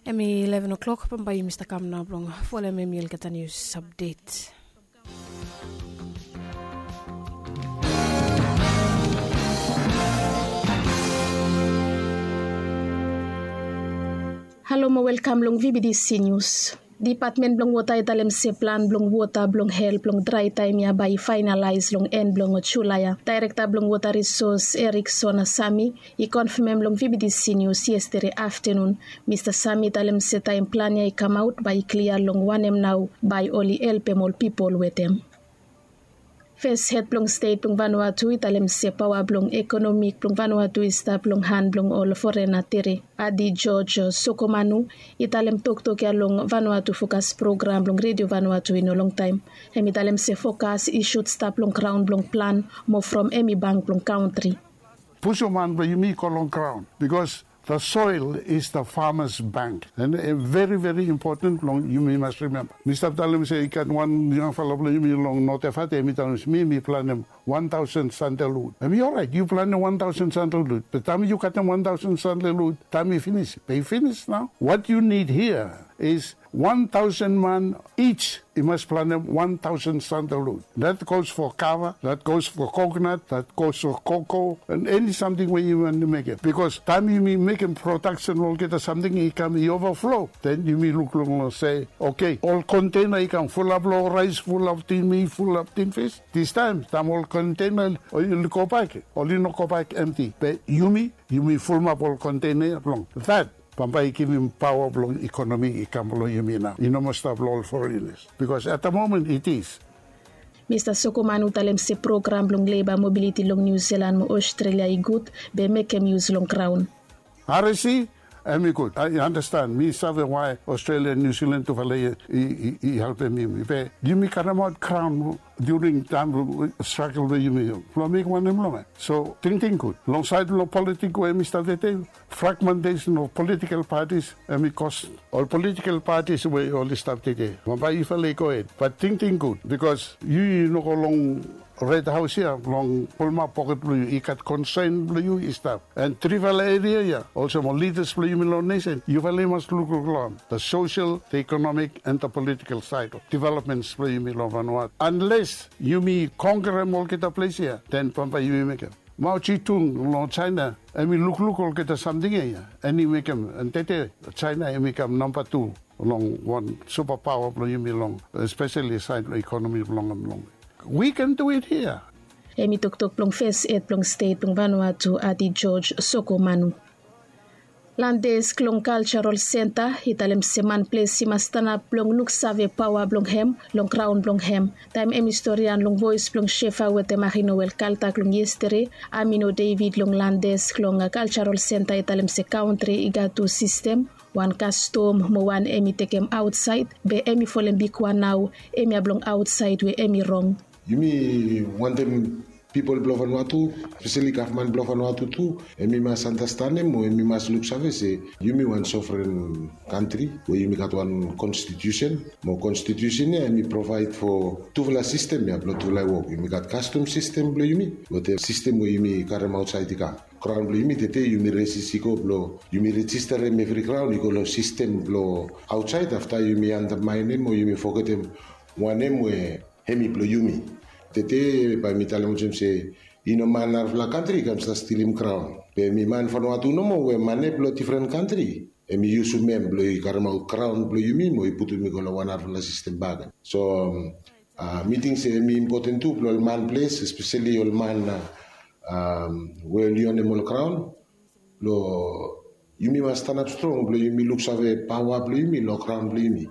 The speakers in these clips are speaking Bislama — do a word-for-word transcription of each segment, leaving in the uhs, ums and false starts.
Hem i ileven o'klok, bambae yumi stap kam nao blong folem hem i olgeta nius apdet. Halo mo welkam long vbdc nius. Dipatmen blong wota i talem se plan blong wota blong hel blong drae taem ya bae i faenalaes long en blong julae ya. Daerekta blong wota risos, erikson sami, i konfemem long vbdc nius yestede aftenun. Mista sami i talem se taem plan ya i kamaot bae i klia long wanem nao bae oli helpem ol pipol wetem. Fes hed blong stet blong vanua tu i talem se paoa blong ekonomik blong vanua tu i stap long han blong ol forena tere. Adi george sokomanu i talem toktok ya long vanua tu fokas program blong redio vanua tu i no longtaem. Hem i talem se fokas i sut stap long graon blong plan mo from hem i bank blong kantri. Pusuman blong yumi i go long graon bikos the soil is the farmers bank. And veri veri impoten blong yumi mas rimemba, mi stap talem se i gat wan yangfala blong yumi long notefate hem i talem se mi mi planem wan taosen sandelud. Hem i oraet yu planem wan taosen sandelud, be taem yu gatem wan taosen sandelud taem i finis, be i finis nao. Wat yu nid hia is wan taosen man ij i mas planem wan taosen sandelud. Dat gos fo kava, dat gos fo koknat, dat gos fo koko, an eni samting we yu wantem mekem. Bikos taem yumi mekem prodaksen olgeta samting i kam i ovaflo, den yumi lukluk long se, oke, ol kontena i kam fulap long raes, fulap tin mit, fulap tin fis. Distaem taem ol kontena oli gobak, oli no gobak emti, be yumi yumi fulumap ol kontena ya blong dat. Bambae i givim paoa blong ekonomi i kam long yumi nao, i no moa stap long ol forenas. Bikos at the moment it is. Mista sokoman u talem se program blong leba mobiliti long niu silan mo ostrelia i gud, be mekem yus long graon. Aresi, hem i gud, i andastan, mi save wae ostrelia, niu silan tufala i helpem yumi, be yumi karemaot graon during taem blong stragel blong yumi blong mekem wanem long hem. So tingting gud long saed blong politik we hem i stap tete. Fragmentesen of politikel patis, hem i kos ol politikel patis we oli stap tete. Bambae yufala i gohed, bat tingting gud bikos yu yu no go long red haos ya blong pulumap poket blong yu, i gat konsen blong yu i stap. An trifala eria ya olsem ol lidas blong yumi long nesen, yufala i mas lukluk long hem, the sosel, the ekonomik an the politikel saed of developmens blong yumi long vanua. Anles yumi konkerem olgeta ples ya, den bambae yumi mekem. Mao jetung long jaena, hem i lukluk olgeta samting ya ya, an i mekem an tete jaena hem i kam namba tu long wan supapaoa blong yumi long, espeseli saed blong ekonomi blong hem long. We can do it hia. Hem i toktok blong fes hed blong stet blong vanua tu adi george sokomanu. Landes klong kaljarol senta i talem se manples i mas stanap blong luksave paoa blong hem long graon blong hem. Taem hem i storian long voes blong shefa wetem ari noel kaltak long yestede, amino david long landes klong kaljarol senta i talem se kantri i gat tu sistem, wan kastom mo wan hem i tekem aotsaed, be hem i folem bigwan nao, hemia blong aotsaed we hem i rong. Yumi wantem pipol blong vanua tu, speseli gavman blong vanua tu tu, hem i mas andastanem o hem i mas luksave se yumi wan sovren kantri we yumi gat wan konstitiusen, mo konstitiusen ya hem i provaed fo tufala sistem ya blong tufala i wok. Yumi gat kastom sistem blong yumi wetem sistem we yumi karem aotsaed i kam. Graon blong yumi tete yumi resis i go blong yumi rejisterem evri graon i go long sistem blong aotsaed, afta yumi andamaenem o yumi fogetem wanem we hem i blong yumi. Tete bae mi talem olsem se i no man narafala kantri i kam stap stilim graon, be hem i man fanua tu nomo we mane blong difren kantri hem i yusum hem blong i karemaot graon blong yumi mo i putum i go long wan narafala sistem bak. So mi ting se hem i impoten tu blong ol man ples, espeseli ol man we oli onem ol graon, blong yumi mas stanap strong blong yumi luksave paoa blong yumi long graon blong yumi.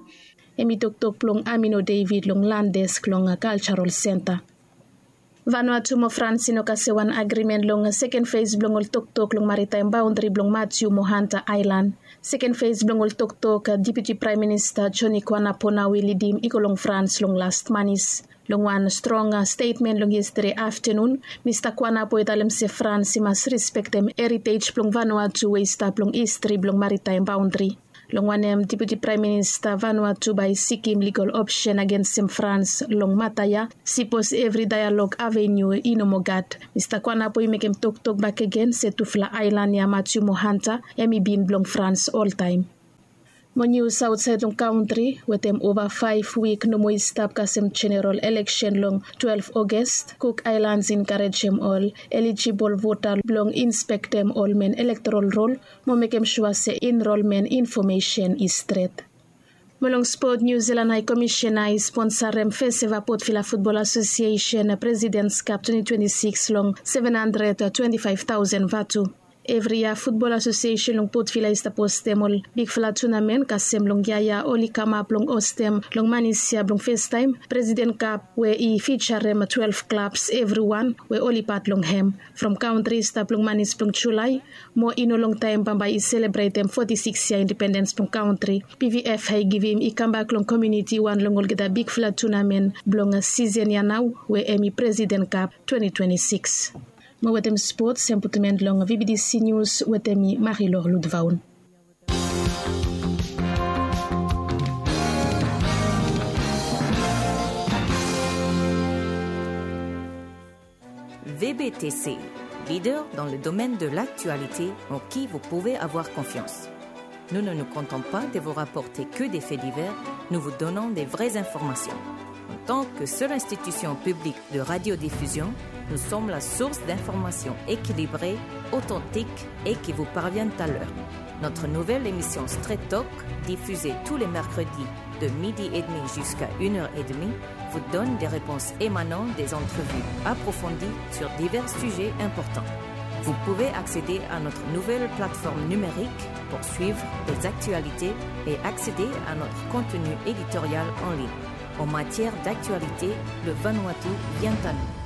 Hem i toktok blong amino david long landes klong kaljarol senta. Vanua tu mo frans i no kasem wan agrimen long seken fes blong ol toktok long maritaem baondri blong matiu mo hanta aelan. Seken fes blong ol toktok deputi praem minista joni kwanapo nao i lidim i go long frans long last manis. Long wan strong stetmen long yestede aftenun, mista kwanapo i talem se frans i mas rispektem eritej blong vanua tu we i stap long histri blong maritaem baondri. Long wanem deputi praem minista vanua tu bae i sikim ligal opsen agensem frans long mata ya, sipos evri daelog aveniu i no moa gat. Mista kwanapo i mekem toktok bakegen se tufala aelan ya matiu mo hanta hem i bin blong frans oltaem. Mo nius aotsaed long kantri, wetem ova faef wik nomo i stap kasem jeneral eleksen long twelef Ogast, Cook Islands i enkarejem ol elijibol vota blong inspektem ol men elektoral rol mo mekem sua se enrolmen infomesen i stret. Mo long spot, Niu Zilan Hae Komisena i sponsarem fes eva Port Vila Futbol Asosiesen Presidens Kap twenti twenti sikis long seven handred twenti faef taosen vatu. Evri yia Futbol Asosiesen long Port Vila i stap hostem ol bigfala tunamen, kasem long yia ya oli kamap blong hostem long Manis ya blong festaem Presiden Kap we i fijarem twelef klabs evriwan we oli pat long hem. From kantri i stap long Manis blong Julae, mo i no longtaem bambae i selebretem foti sikis yia independens blong kantri. P V F ya i givim i kambak long komuniti wan long olgeta bigfala tunamen blong sisen ya nao we hemi Presiden Kap twenti twenti sikis. Mo wetem spot, sem putum en long V B T C Nius wetem mi Marilor Ludvaun. V B T C, leader dans le domaine de l'actualité en qui vous pouvez avoir confiance. Nous ne nous contentons pas de vous rapporter que des faits divers, nous vous donnons des vraies informations. En tant que seule institution publique de radiodiffusion, nous sommes la source d'informations équilibrées, authentiques et qui vous parviennent à l'heure. Notre nouvelle émission Straight Talk, diffusée tous les mercredis de midi et demi jusqu'à une heure et demie, vous donne des réponses émanant des entrevues approfondies sur divers sujets importants. Vous pouvez accéder à notre nouvelle plateforme numérique pour suivre les actualités et accéder à notre contenu éditorial en ligne. En matière d'actualité, le Vanuatu vient à nous.